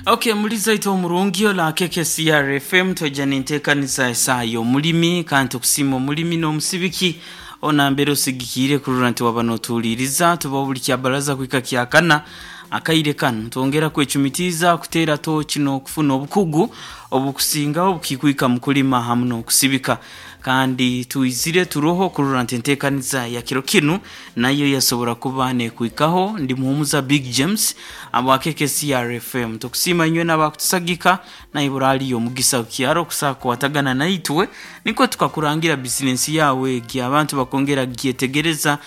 Okay, muliza itwe omurungi ola KKCR FM twaija nenteekaniza esaaha y'omulimi kandi tukusiima omulimi n'omusibiki onambere osigikiire kurora nti waba notuhuliiriza tubaho buli kyabaraza kuhika kyakana akaire kanu twongera kwecumitiiza kuteera tooki n'okufuna obukugu obukusingaho obukikwika mu kulima hamu n'okusibika kandi twizire turoho kurora nti enteekaniza ya kiro kinu nayo yasobora kuba nekwikaho ndi muhumuza Big James abwa KKCR FM tukusiima inywe n'abakutusagika naibura aliyo omugisa kukyaro kusa kukwatagana naitwe nikwo tukakurangira bizinensi yawe egi abantu bakongera kugyetegereza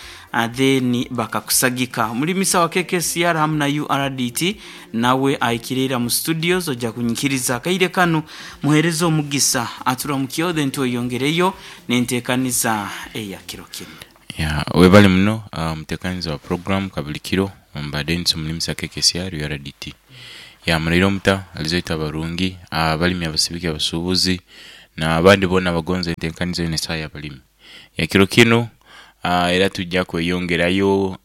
then bakakusagika mulimisa wa KKCR hamu na URDT nawe ahikire mu studios ojja kunyikiriza akaire kanu muhereze omugisa aturamukiyeho then tweyongereyo nenteekaniza eya kiro kinu. Ya, webale muno omutekaniza wa program kabulikiro mbade nsi omulimisa KKCR URDT. Ya muraire omuta alizoito abarungi, abalimi abasibiki abasubuzi na abandi bona abagonza entenkaniza eno esaha yabalimi. Ya kiro kinu era tujja kweyongerayo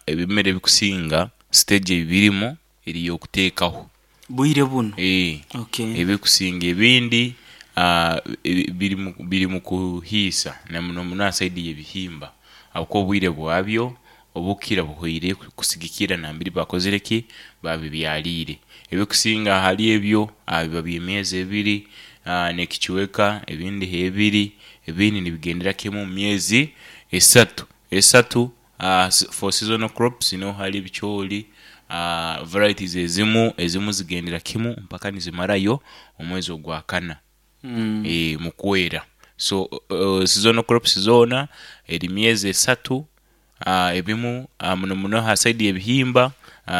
ebimera ebikusinga stage ebirimu eri yokutekaho. Bwire bunu? Eeh, Okay. ebikusinga ebindi biri mu kuhiisa na muno muno aha saidi ye bihimba ahabw'okuba obwire bwabyo obukukira buhweire kusigikirra nambere bakozire ki? Babibyaliire. Ebikusinga ahari ebyo biba bya myezi ebiri n'ekicweka, ebindi ebiri, ebindi nibigendera kimwe omu myezi esatu. Esatu for seasonal crops niho hari ebicoori, varieties ezimu, ezimu zigendera kimu mpaka nizimarayo omwezi ogwakana mu kwera. So seasonal crops zoona eri myezi esatu, ebimu muno muno aha saidi y'ebihimba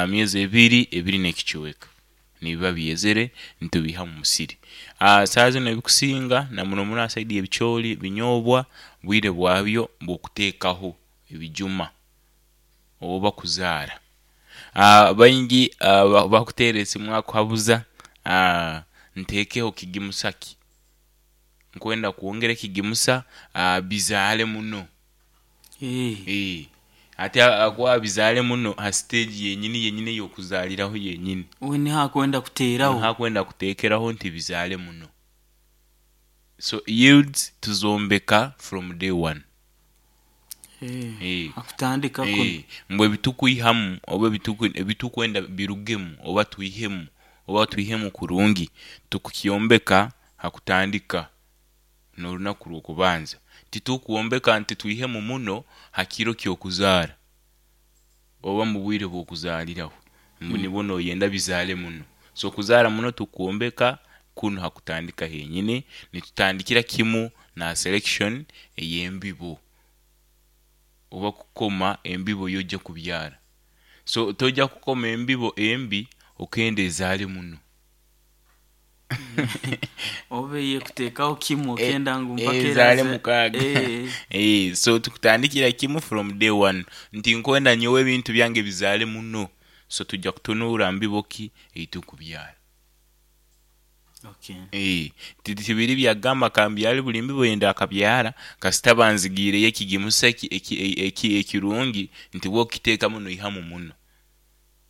myezi ebiri, ebiri n'ekicweka nibiba byezere nitubiiha omu musiri. Saaha zinu ebikusinga na muno muno aha saidi y'ebicoori, binyoobwa, bwire bwabyo bw'okuteekaho ebijuma oba kuzaara. Baingi bakuteera esimu akuhabuza nteekeho kigimusa ki? Nkwenda kwongera ekigimusa bizaale muno. Eeh. Ate ahakuba bizaale muno ha siteegi yenyini yenyini ey'okuzaaliraho yenyini. We niho akwenda kuteeraho. Niho akwenda kuteekeraho nti bizaale muno. So yields tuzombeka from day one. Eeh, Akutandika kunu. Mbu ebitukwihamu oba ebitukwenda birugemu oba twihemu oba twihemu kurungi tukukyombeka ha kutandika n'orunaku rw'okubanza. Titukwombeka nti twihemu muno ha kiro ky'okuzaara oba mu bwire bw'okuzaaliraho mbu nibwo noyenda bizaale muno. So okuzaara muno tukwombeka kunu ha kutandika henyini, nitutandikira kimu na selection ey'embibo oba kukoma embibo y'oja kubyara. So toja kukoma embibo embi okenda ezaale muno. Oba ey'ekuteekaho kimwe okenda ngu mpaka Ezaale eraze. mukaaga. Eeh. So tukutandikira kimu from day one nti nkwenda nyowe ebintu byange bizaale muno, so tuja kutunuura mbibo ki ei tukubyara. Okay. Tibiri bya kugamba kambyare buri mbibo ei ndakabyara kasita banzigiireyo ekigimusa ekirungi nti bw'okukiteekamu noihamu muno.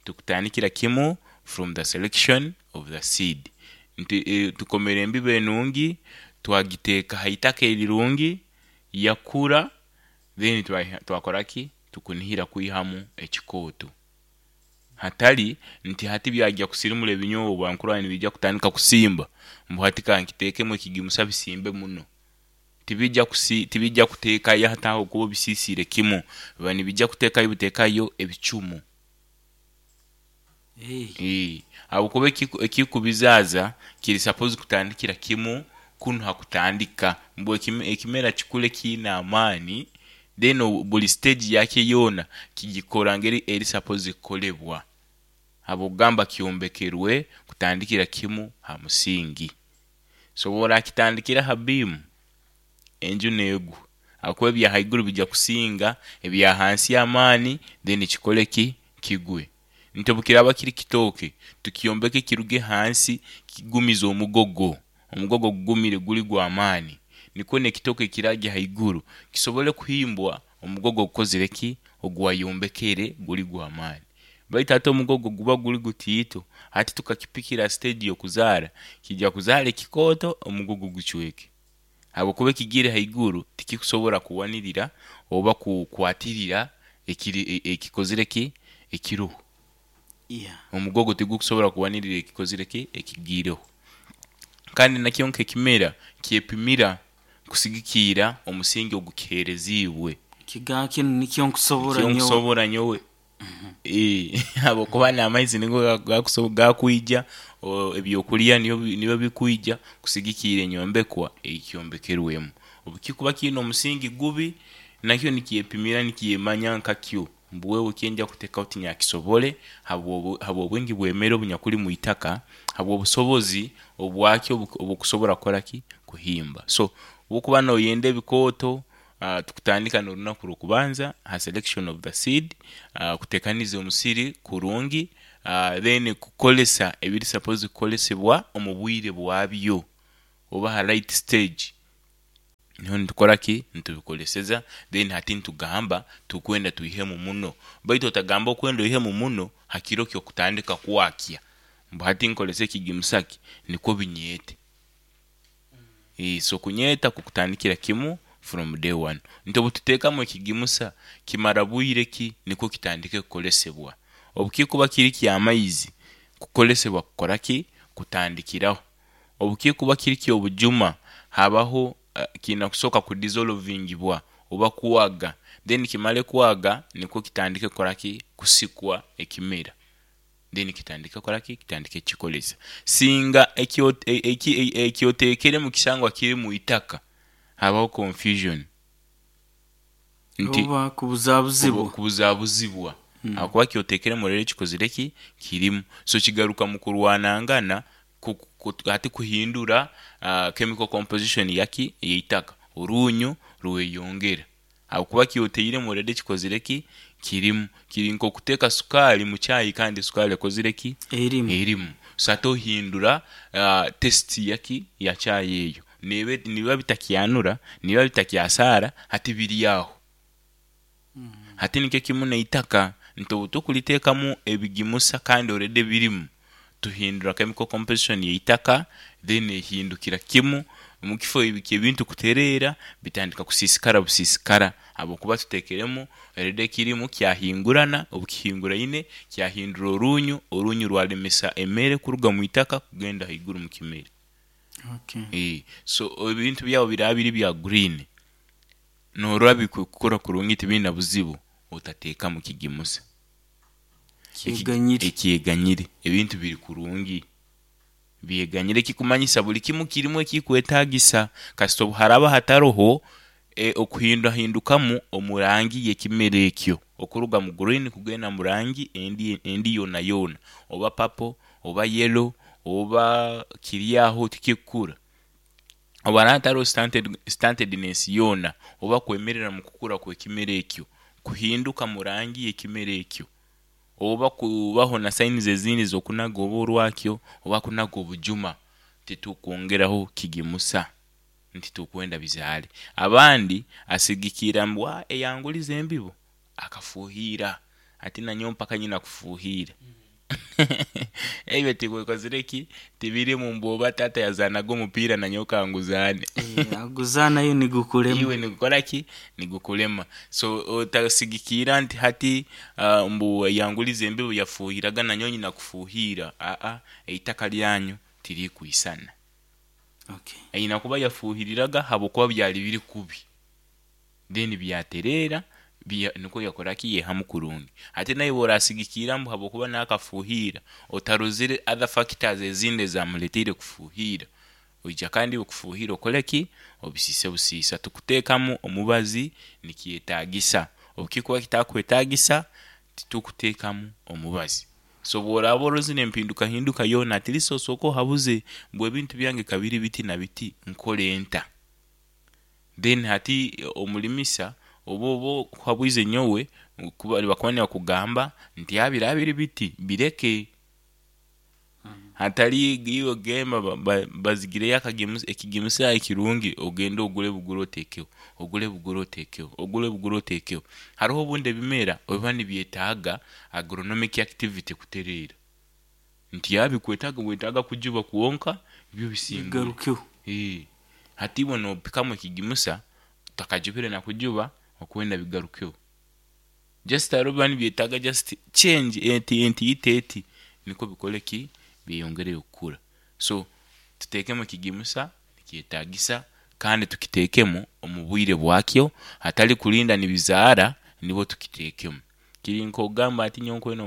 Tukutandikira kimu from the selection of the seed nti tukomera embibo enungi twagiteeka ha itaka erirungi yakura then twakora ki? Tukunihira kwihamu ekikooto hatari nti hati byagya kusirimura ebinyoobwa nkurora nibiija kutandika kusimba mbu hati kankiteekemu ekigimusa bisimbe muno. Tibija kusi, tibija kuteekayo hati aho kuba obisiisiire kimu, biba nibija kuteekayo buteekayo ebicumu. Eeh. Ahabw'okuba ekikubizaaza kiri suppose kutandikira kimu kunu ha kutandika mbu ekimera kikure kiine amaani then buri stage yakyo yoona kigikora ngeri eri suppose kukorebwa ahabw'okugamba kyombekerwe kutandikira kimu ha musingi. So bw'orakitandikira aha biimu, enju neegwa ahakuba ebya haiguru bija kusinga ebya hansi amaani then kikore ki? Kigwe. Nti obu kiraaba kiri kitooke, tukyombeke kiruge hansi kigumize omugogo, omugogo gugumire guri gw'amaani nikwo n'ekitooke ekiraagya haiguru kisobole kuhimbwa omugogo ogukozire ki? Oguwayombekere guri gw'amaani. Baitu hati omugogo guba guri gutiito, hati tukakipikira aha stage y'okuzaara, kiija kuzaara ekikooto omugogo gucweke. Habwokuba ekigiire haiguru tikikusobora kuwanirira oba kukwatirira ekiri ekikozire ki? Ekiroho. Yeah. Omugogo tigukusobora kuwanirira ekikozire ki? Ekigiireho. Kandi nakyo nk'ekimera kyepimira kusigikiira omusingi ogukiheereziibwe. Kiga kinu nikyo nkusobora Nikyo nyowe. nkusobora nyowe. Habwokuba n'amaizi nigo gakwija, ebyokurya nibyo bikwija kusigikiira enyombekwa ei kyombekerwemu. Obu kikuba kiine omusingi gubi, nakyo nikyepimira nikyemanya nkakyo mbu wewe ekyenja kutekaho tinyakisobore habw'obwingi bw'emere obunyakuli mu itaka, habw'obusobozi obwakyo obukusobora kukora ki? Kuhimba. So obu okuba noyenda ebikooto, tukutandika n'orunaku rw'okubanza ha selection of the seed, kutekaniza omusiri kurungi, then kukozesa ebiri supposed kukozesebwa omu bwire bwabyo oba ha right stage. Niho nitukora ki? Nitubikoleseza then hati nitugamba tukwenda twihemu muno. Baitu otagamba okwenda oihemu muno ha kiro ky'okutandika kwakya mbu hati nkolese ekigimusa ki nikwo binyeete. So kunyeeta kukutandikira kimu from day one. Nti obututeekamu ekigimusa kimara bwire ki nikwo kitandike kukolesebwa? Obukikuba kiri ky'amaizi, kukolesebwa kukora ki? Kutandikiraho. Obukikuba kiri ky'obujuma, habaho kiine kusooka kudizolovingibwa oba kwaga then kimare kwaga nikwo kitandike kukora ki? Kusikwa ekimera then kitandike kukora ki? Kitandike kukikoresa. Singa eki oteekeremu kishangwa kiri mu itaka, habaho confusion nti Oba kubuzabuzibwa. Kubuzabuzibwa ahakuba kyoteekeremu reero kikozire ki? Kirimu. So kigaruka mu kurwanangana hati kuhindura chemical composition yaki? Ey'eitaka. Oruunyu rweyongera ahabw'okuba kyoteiremu already kikozire ki? Kirimu. Kiri nk'okuteeka sukaali mu chai kandi sukaali ekozire ki? Erimu. Erimu. So hati ohindura taste yaki? Ya chai eyo. Neeba nibiba bitakyanura, nibiba bitakyasaara, hati biri aho. Hati nikyo kimu n'eitaka nti obu tukuriteekamu ebigimusa kandi already birimu, tuhindura chemical composition y'eitaka then ehindukira kimu, omu kifo ky'ebintu kutereera bitandika kusiisikara busiisikara ahabw'okuba tuteekiremu already ekirimu kyahingurana, obu kihinguraine kyahindura oruunyu, oruunyu rwaremesa emere kuruga mu itaka kugenda haiguru mu kimera. Okay. So ebintu byawe biraba biri bya green, Noorora bikukora kurungi tibiine buzibu, otateekamu kigimusa Kyeganyire. Ekyeganyire. Ebintu biri kurungi byeganyire ekikumanyisa buri kimu kirimu ekikwetaagisa. Kasita obu haraba hataroho okuhindahindukamu omu rangi y'ekimera ekyo, okuruga mu green kugenda mu rangi endi endi yoonayoona, oba purple, oba yellow, oba kiri aho tikikukura. Obu haraba hatariho stunted-ness yoona oba kwemerera mu kukura kw'ekimera ekyo, kuhinduka mu rangi y'ekimera ekyo, oba kubaho na signs ezindi z'okunaga oba orwakyo oba kunaga obujuma, titukwongeraho kigimusa nti tukwenda bizaare. Abandi asigikirra mbu eyangulize embibo akafuhiira ati nanyowe mpaka nyina kufuhiira. Ebyo tibwekozire ki? Tibirimu mbu oba taata yazaanaga omupiira nanyowe kanguzaane. Aguzaanayo nigukurema. Iwe nigukora ki? Nigukurema. So otasigikiira nti hati mbu yangulize embibo yafuuhiraga nanyowe nyina kufuuhiira. Aa, eitaka ryanyu tirikwisana. Okay. Aine kuba yafuuhiriraga habwokuba byari biri kubi. Then byatereera nikwo yakora ki? Yaihamu kurungi. Hati naiwe orasigikiira mbu habwokuba nakafuhiira, otarozire other factors ezindi ezamureteire kufuhiira, oija kandi iwe kufuhiira okore ki? Obisiise busiisa. Tukuteekamu omubazi nikyetagisa, obukikuba kitakwetagisa titukuteekamu omubazi. So bworaba orozire empindukahinduka yoona at least osooke ohabuze mbu ebintu byange kabiri biti na biti nkore nta? Then hati omurimisa oba oba ohabwize nyowe nibakuba nibakugamba nti biraba biri biti bireke. Hatari iwe kugamba bazigireyo ekigimusa ekirungi ogende ogure bugure oteekeho, ogure bugure oteekeho, ogure bugure oteekeho. Hariho obundi ebimera ebiba nibyetaaga agronomic activity kutereera. Nti yaaba bikwetaaga bwetaaga kujuba kwonka byo bisingure. Bigarukeho. Hati iwe noopikamu ekigimusa otakajubire na kujuba okwenda bigarukeho. Just hariho ebiba nibyetaaga just change enti entiito eti nikwo bikore ki? Byeyongereyo kukura. So tuteekemu ekigimusa nikyetaagisa kandi tukiteekemu omu bwire bwakyo hatari kurinda nibizaara nibwo tukiteekemu. Kiri nk'okugamba ati nyowe nkwenda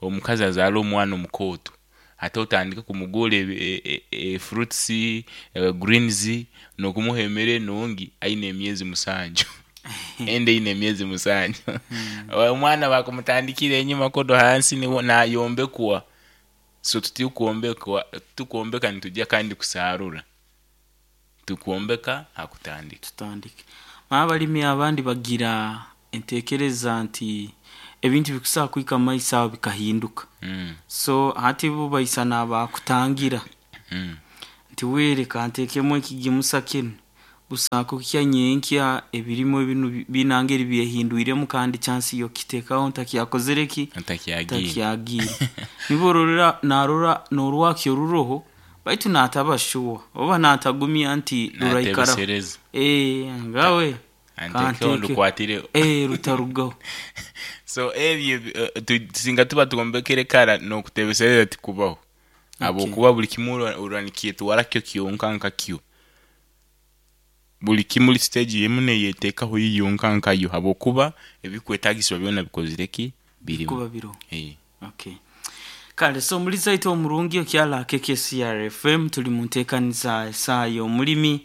omukazi azaare omwana omukooto, hati otandike kumugurra fruits, greens n'okumuha emere enungi aine emyezi musanju, enda eine emyezi musanju. Omwana baakumutandikire enyima kunu hansi niwe naayombekwa. So titukwombeka nitwija kandi kusarura, tukwombeka ha kutandika. Tutandike. Abalimi abandi bagira entekereza nti ebintu bikusobola kuhika omu maiso aho bikahinduka. So hati bo baisana abakutangira nti we leka nteekemu ekigimusa kinu, busa kuhikya nyenkya ebirime binu biine engeri byehindwiremu kandi chance y'okukiteekaho ntakyakozire ki? Ntakyagiire. Ntakyagiire. Nibwo ororora naarora n'orwakyo ruroho baitu naataba sure oba naatagumya nti ruraikaraho. Naatebesereza. Ngawe Antekeho kanteekeho. ndukwatireho. Rutarugaho. So ebyo singa tuba twombekere kara n'okutebesereza tikubaho. Habwokuba buri kimwe orora nikyetwara kyo kyonka nkakyo. Buri kimwe stage emwe neyeteekaho yo yonka nkayo habwokuba ebikwetaagisibwa byona bikozire ki? Birimu. Bikuba biroho. Okay. Kale so omulizi waitu omurungi okyali KKCR FM tuli mu nteekaniza esaaha y'omulimi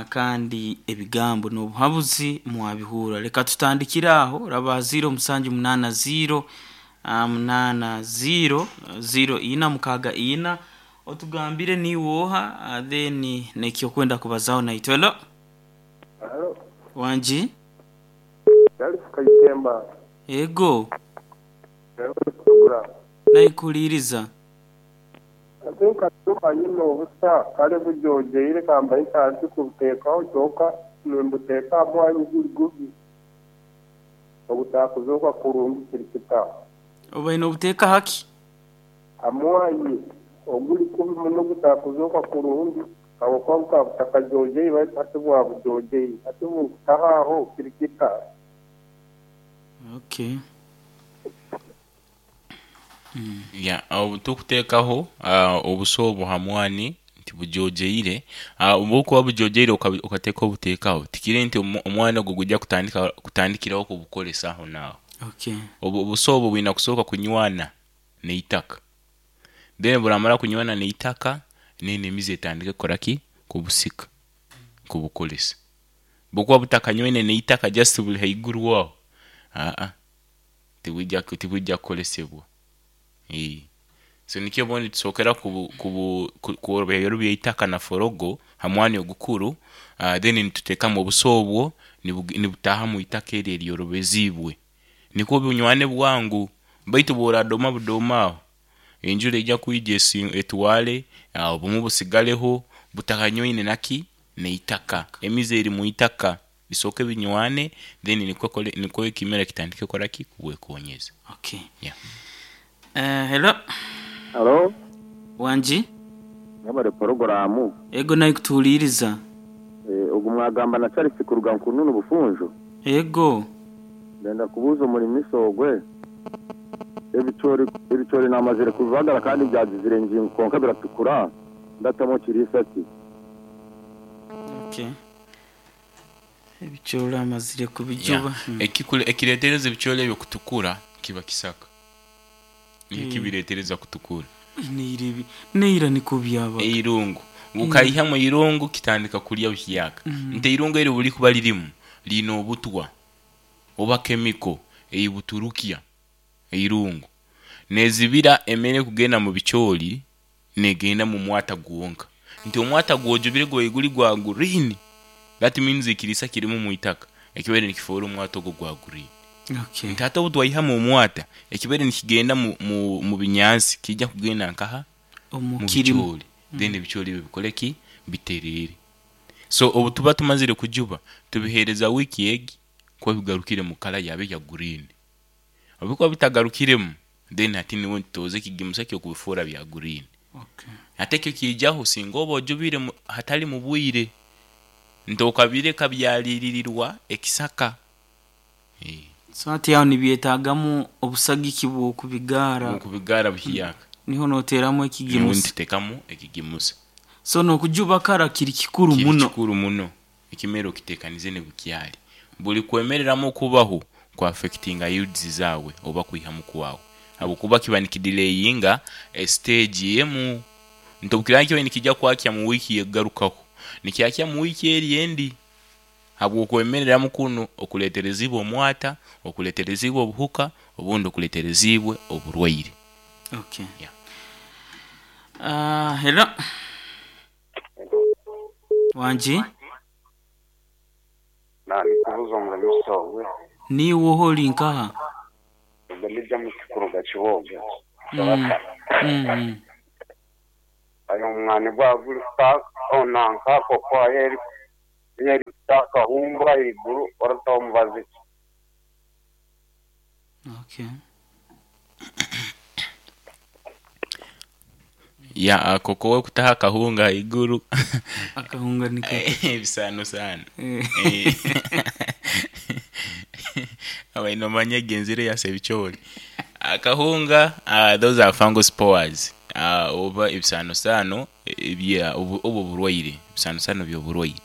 kandi ebigambo n'obuhabuzi mwabihurra. Leka tutandikire aho raba 0780 80 0464 otugambire niiwe oha then n'ekyokwenda kubazaho naitwe. Hello. Halo. Wangi? Charles Kaitemba. Ego. Program. Naikuliiriza. Ate nkatuma nyine obusa kale bujojeire kambaye ntansi kubuteekaho kyonka nimbuteeka aha mwanya guri gubi ogutakuzooka kurungi kiri kita. Obaire nobuteeka haki? Ha mwanya oguri kubi muno ogutakuzooka kurungi ahabw'okuba bukaba butakajojeire baitu hati bwabujojeire hati obunkutaho aho kiri kita. Okay. Yeah, obu tukuteekaho obusa obu ha mwani nti bujojeire, obu bukuba bujojeire okateeka obuteekaho, tikiri nti omwani ogwo gwija kutandika kutandikiraho kubukoresa aho naaho. Okay. Obusa obu bwine kusooka kunywana n'eitaka. Then buramara kunywana n'eitaka, then emizi etandike kukora ki? Kubusika, kubukoresa. Bukuba butakanywaine n'eitaka just buri haiguru aho, aa tibwija tibwija kukoresebwa. So nikyo obundi tusookera kworobya eitaka na forogo ha mwani ogukuru, then nituteekamu obusa obwo nibutaaha omu itaka eryo eryorobeziibwe. Nikwo bunywane bwangu baitu bw'oradooma budooma aho, enjura eija kwija etware, obumwe busigareho butakanywaine naki? N'eitaka. Emizi eri mu itaka bisooke binywane then nikwo nikwo ekimera kitandike kukora ki? Kubwekonyeza. Okay. Yeah. Hello. Halo. Wangi? Mwebare poroguramu. Ego naikutuhuliiriza. Ogu mwagamba na Charles kuruga Nkununu Bufunjo. Ego. Ndenda kubuuza omurimisa ogwe, ebicoori ebicoori namazire kubibagara kandi byagizire engingo kwonka biratukura, ndatamu kiriisa ki? Okay. Ebicoori amazire kubijuba. Yeah. Ekireetereza ebicoori ebyo kutukura kiba kisaka. Nikyo kibireetereza kutukura. Neira ebi neira nikwo byabaga. Eirungu. Bukaihamu eirungu kitandika kurya buhyaka. Nti eirungu eryo bwerikuba ririmu riine obutwa oba chemical eibuturukya eirungu. Nezibira emere kugenda mu bicoori negenda mu mwata gwonka. Nti omwata gwojubire gubaire guri gwa green, that means ekiriisa kirimu omu itaka ekibaire nikifoora omwata ogwo gwa green. Okay. Nti hati obu twaihamu omwata, ekibaire nikigenda mu binyansi kiija kugenda nkaha? Omu mu kirimo. bicoori then ebicoori ebyo bikore ki? Bitereere. So obu tuba tumazire kujuba, tubiheereza wiiki egi kuba bigarukire mu kala yabyo eya green. Obu bikuba bitagarukiremu, then hati nibwo nitutoza ekigimusa ky'okubifuura bya green. Okay. Hati ekyo kiijaho singa oba ojubire hatari mu bwire, nti okabireka byariiririrwa ekisaka. So hati aho nibyetagamu obusagiki bw'okubigaara. Bw'okubigaara buhyaka. Niho noteeramu Niho ekigimusa. nituteekamu ekigimusa. So n'okujuba kara kiri kikuru Kiri muno. kikuru muno. Ekimera okiteekanize nibukyari. Buri kwemereramu okubaho ku affectinga yields zaawe oba kwihamu kwawe. Habwokuba kiba nikidelayinga esiteegi emu. Nti obu kiraba nikiba nikija kwakya mu wiiki ekugarukaho, nikyakya mu wiiki eri endi. Habw'okwemereramu kunu okuleetereziibwe omwata, okuleetereziibwe obuhuka, obundi okuleetereziibwe oburwaire. Okay. Yeah. Hello. Wangi? Nandikubuza omuremesa ogwe. Niiwe oha ori nkaha? Ogwe ni James kuruga Kiboga. Soraka. Aye omwani gwaba guri nanka kokoa yo erikuta akahumbu ahaiguru orataho mubazi ki? Okay. Ya kokoa okutaho akahunga ahaiguru. Akahunga niko. Ebisaanosaano. Abaine nomanya egyo enziro eya sebicoori. Akahunga those are fungal spores oba ebisaanosaano ebya oba oburwaire, ebisaanosaano by'oburwaire.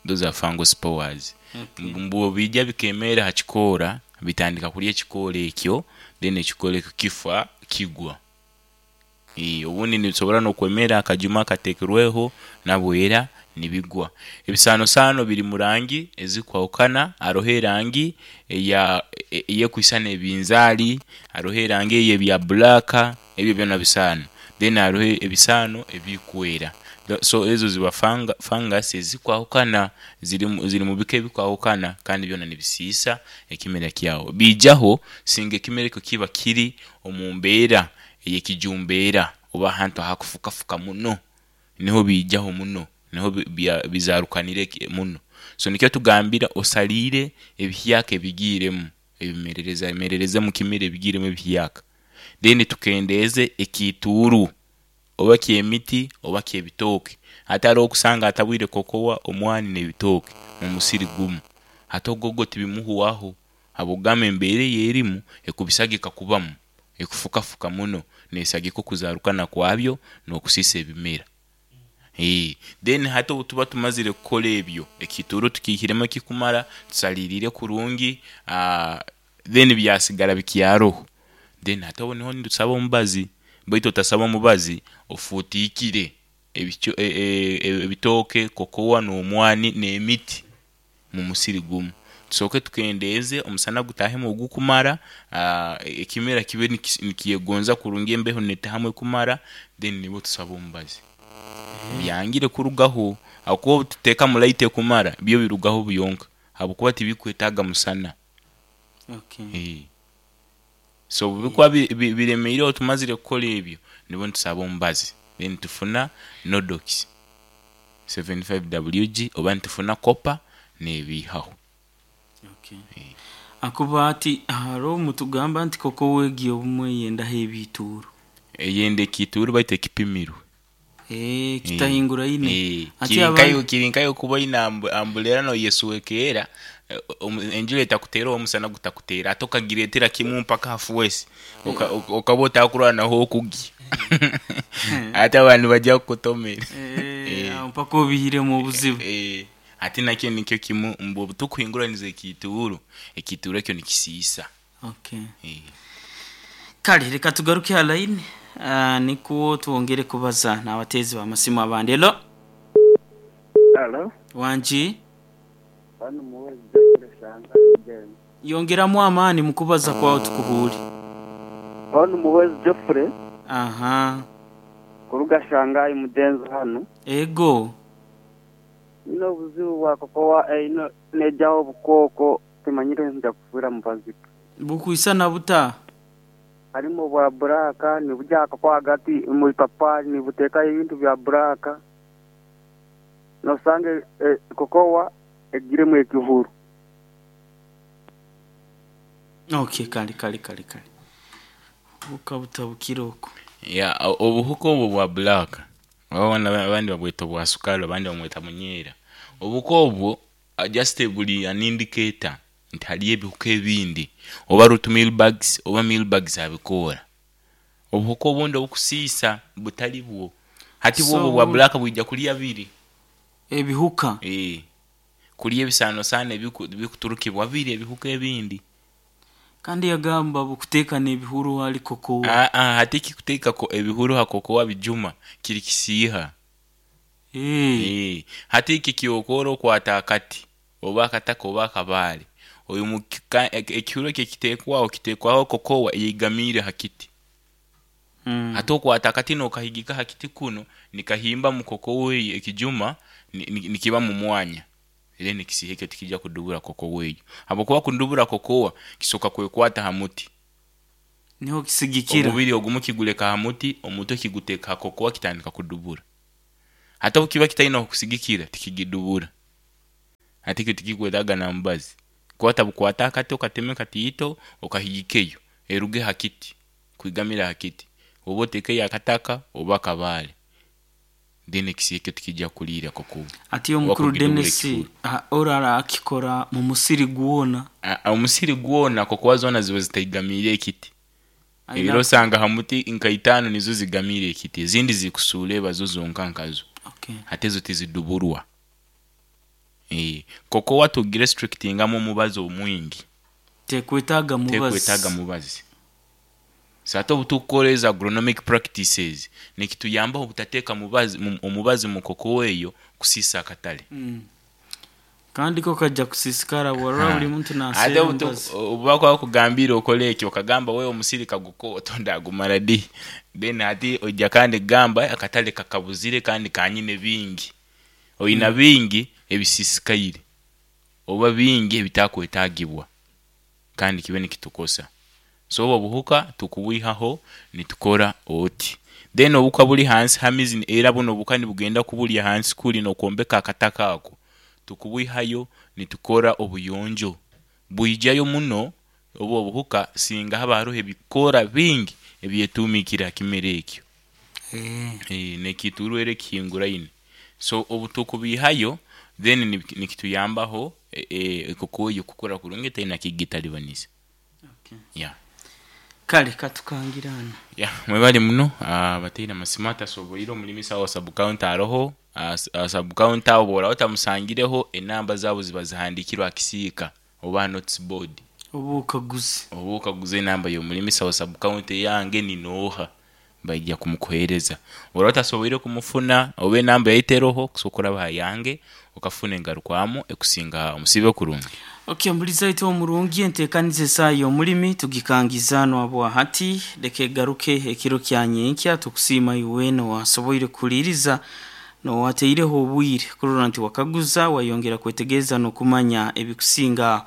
Those are fungal spores. Mbu biija bikemeera aha kikoora bitandika kurya ekikoora ekyo then ekikoora ekyo kifa kigwa. Obundi nibisobora n'okwemera aha kajuma akateekirweho nabwo era nibigwa. Ebisaanosaano biri mu rangi ezirikwahukana, hariho erangi eya ey'ekwisana ebinzaali, hariho erangi ey'ebya bbulaaka, ebyo byona bisaano. Then hariho ebisaano ebirikwera. So ezo ziba fungus ezirikwahukana, ziri mu bika ebirikwahukana kandi byona nibisiisa ekimera kyawe. Biijaho singa ekimera ekyo kiba kiri omu mbeera ey'ekijumbeera oba ahantu ahakufukafuka muno, niho biijaho muno, niho bizaarukanira muno. So nikyo tugambira osariire ebihyaka ebigiiremu, ebimerereza merereza omu kimera ebigiiremu ebihyaka. Then tukendeeze ekiituuru oba ky'emiti oba ky'ebitooke. Hati hariho okusanga atabwire kokowa, omwani n'ebitooke mu musiri gumu. Hati ogwo gwo tibimuhwaho habw'okugamba embeera ei erimu ekubisagika kubamu, ekufukafuka muno, neesagika okuzaarukana kwabyo n'okusiisa ebimera. Then hati obu tuba tumazire kukora ebyo, ekiituuru tukiihiremu ekikumara, tusariirire kurungi, then byasigara bikyaroho, then hati aho niho nitusaba omubazi. Baitu otasaba omubazi ofuutiikire ebitooke, kokowa n'omwani n'emiti mu musiri gumu. Tusooke tukendeeze omusana gutaahemu ogukumara, ekimera kibe nikyegonza kurungi embeho neetaahamu ekumara, then nibwo tusaba omubazi. Byangire kurugaho ahabw'okuba obu tuteekamu light ekumara, byo birugaho byonka ahabw'okuba tibikwetaaga musana. So obu bikuba biremeireho tumazire kukora ebyo, nibwo nitusaba omubazi then nitufuna Nodox 75 WG oba nitufuna copper nebiihaho. Akuba ati hariho mutugamba nti kokowa egi obumwe eyendaho ebiituuru. Eyenda ekiituuru baitu ekipimirwe. Kitahinguraine. Hati abandi. Kiri nka iwe kuba oine ambureera noyeswekeera, enjura etakuteera oba omusana gutakuteera ate okagireetera kimwe mpaka aha fuwesi, okaba otakurora n'ah'okugya. Hati abantu nibagya kukutomera. Aho mpaka obiihiremu obuzibu. Hati nakyo nikyo kimwe mbu obu tukuhinguraniza ekiituuru, ekiituuru ekyo nikisiisa. Okay. Kale leka tugaruke ha line nikwo twongere kubaza n'abateezi b'amasimu abandi. Hello. Halo. Wangi. Hanu Muhwezi Geoffrey Shangayi James. Yongeramu amaani mu kubaza kwawe tukuhuure. Hon Muhwezi Geoffrey. Aha. Kuruga Shangayi Mudenzi hanu. Ego. Nyine obuzibu bwa kokowa einho nejaho obukooko timanyire nja kufuira mubazi ki. Bukwisana buta? Harimu obwa bburaaka nibugya aha kokowa ahagati omu ipapaari nibuteekayo ebintu bya bburaaka. Noosanga kokowa egiremu ekihuru. Okay, kale kale kale kale. Obuhuka butabukire okwo. Yeah, obuhuka obwo bwa black oba abandi babweta obwa sukari abandi bamweta munyeera. Obuhuka obwo just buri an indicator nti hariyo ebihuka ebindi oba root meal bugs oba meal bugs abikoora. Obuhuka obundi obukusiisa butari bwo. Hati bwo obwo So obwa black bwija kurya biri. Ebihuka? Eeh. Kurya ebisaanosaano ebikuturukibwa biri ebihuka ebindi. Kandi yagamba bukuteeka n'ebihuru ahari kokowa. Aa, hati ekikuteeka ebihuru aha kokowa bijuma kiri kisiiha. Eeh. Eeh. Hati eki ekyokoora okwata akati oba akataka oba akabaare, oimuka ekihuru ekyo ekiteekwaho kiteekwaho kokowa eyeigamiire aha kiti. Hati okwata akati nokahigika aha kiti kunu nikahimba mu kokowa eyo ekijuma nikiba mu mwanya then ekisiiha ekyo tikija kudubura kokowa eyo habwokuba kudubura kokowa kisoka kwekwata ha muti. Niho kisigikira. Omubiri ogumu kiguleka ha muti, omutwe kiguteeka ha kokowa kitandika kudubura. Hati obu kiba kitaine ahokusigikira tikigidubura. Hati ekyo tikikwetaaga na mubazi. Kwata bukwate akati okateme katiito okahigikeyo eruge ha kiti. Kwigamira aha kiti, oba otekeyo akataka oba akabaare, then ekisiha ekyo tikija kuriira kokuba Ati oba omukuru kugidubura Dennis ekihuru. ori arakikora mu musiri gwona? Omusiri gwona kokuba zoona ziba zitaigamiire ekiti. Aine Era osanga ha muti nka itaano nizo zigamiire ekiti, ezindi zikusuula eba zo zonka nkazo. Okay. Hati ezo tiziduburwa. Kokowa tugirestrictingamu omubazi omwingi. Tekwetaaga mubazi. Tekwetaaga mubazi. So hati obutukukora ezo agronomic practices nikituyambaho obutateeka mubazi omubazi mu kokowa eyo kusiisa akatale. Kandi ko kaja kusiisikara bworora buri muntu Ate naseera omubazi. obubakuba bakugambiire okole eki okagamba we omusiri kagukoto ndagumara di? Then hati oija kandi kugamba akatale kakabuzire kandi kanyine bingi. Oina bingi ebisiisikaire oba bingi ebitakwetaagibwa kandi kibe nikitukosa. So obwo obuhuka tukubwihaho nitukora oti. Then obuhuka buri hansi hamizi era bunu obuhuka nibugenda kuburya hansi kuri nokwombeka akataka ako, tukubwihayo nitukora obuyonjo. Bwijayo muno obu obuhuka singa haba haroho ebikoora bingi ebyetuumiikire ha kimera ekyo. Nekiita orwere ekihinguraine. So obu tukubiihayo then nikituyambaho ekoko eyo kukura kurungi etaine kigitaribaniza. Yeah. Kale katukangire hanu. Yeah, mwebale muno abataine amasimu atasoboire omulimisa wa sub county aroho, aha sub county aho bworaba otamusangireho enamba zaabo ziba zihandikirwe aha kisiika oba aha notice board. Oba okaguze. Oba okaguze enamba y'omulimisa wa sub county eyange ni nooha baija kumukuhereza. Bworaba otasoboire kumufuna oba enamba yaitu eroho kusobola kuraba aha yange okafuna engarukwamu ekusinga omusiibe kurungi. Ok mbuliza itwe omurungi entekaniza esaaha y'omulimi tugikangiza hanu habwahati leka egaruke ekiro kya nyenkya tukusiima iwe weena owasoboire kuhuliiriza n'owataireho obwire kurora nti wakaguza wayongera kwetegereza n'okumanya ebikusinga aho.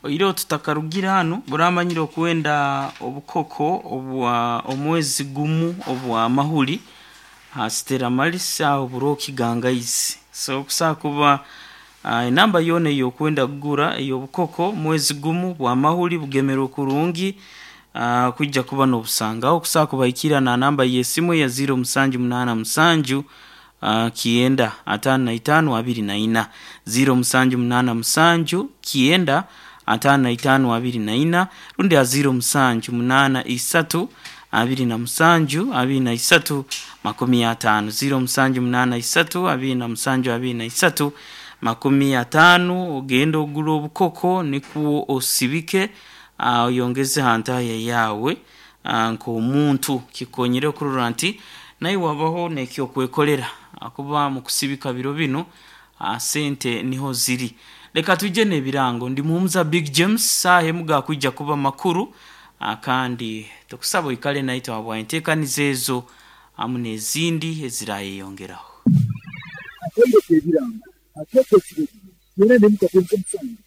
Oihireho tutakarugire hanu buramanyire okwenda obukoko obwa omwezi gumu obwa mahuri ha Stella Maris aho buroho kigangaizi. So kusobola kuba enamba yoona ey'okwenda kugura ey'obukoko mwezi gumu bwa mahuri bugemerwe kurungi kwija kuba n'obusangaho kusobola kubahikirra na namba y'esimu eya ziiro musanju munaana musanju kyenda ataano na itaano abiri na ina. Ziiro musanju munaana musanju kyenda ataano na itaano abiri na ina rundi ha ziiro musanju munaana isatu abiri na musanju abiri na isatu makumi ataano. Ziiro musanju munaana isatu abiri na musanju abiri na isatu makumi ataano ogende ogure obukoko nikwo osibike oyongeze ha ntahya yaawe nk'omuntu kikonyere kurora nti naiwe wabaho n'ekyokwekolera ahakuba mukusibika biro binu sente niho ziri. Leka twije n'ebirango ndi Muhumuza Big James saaha emu gakwija kuba makuru kandi tukusaba oikale naitwe habwa enteekaniza ezo hamu n'ezindi ezirayeyongeraho. Akaire k'ebirango akeekyo ekiro era n'emikago nk'omusango.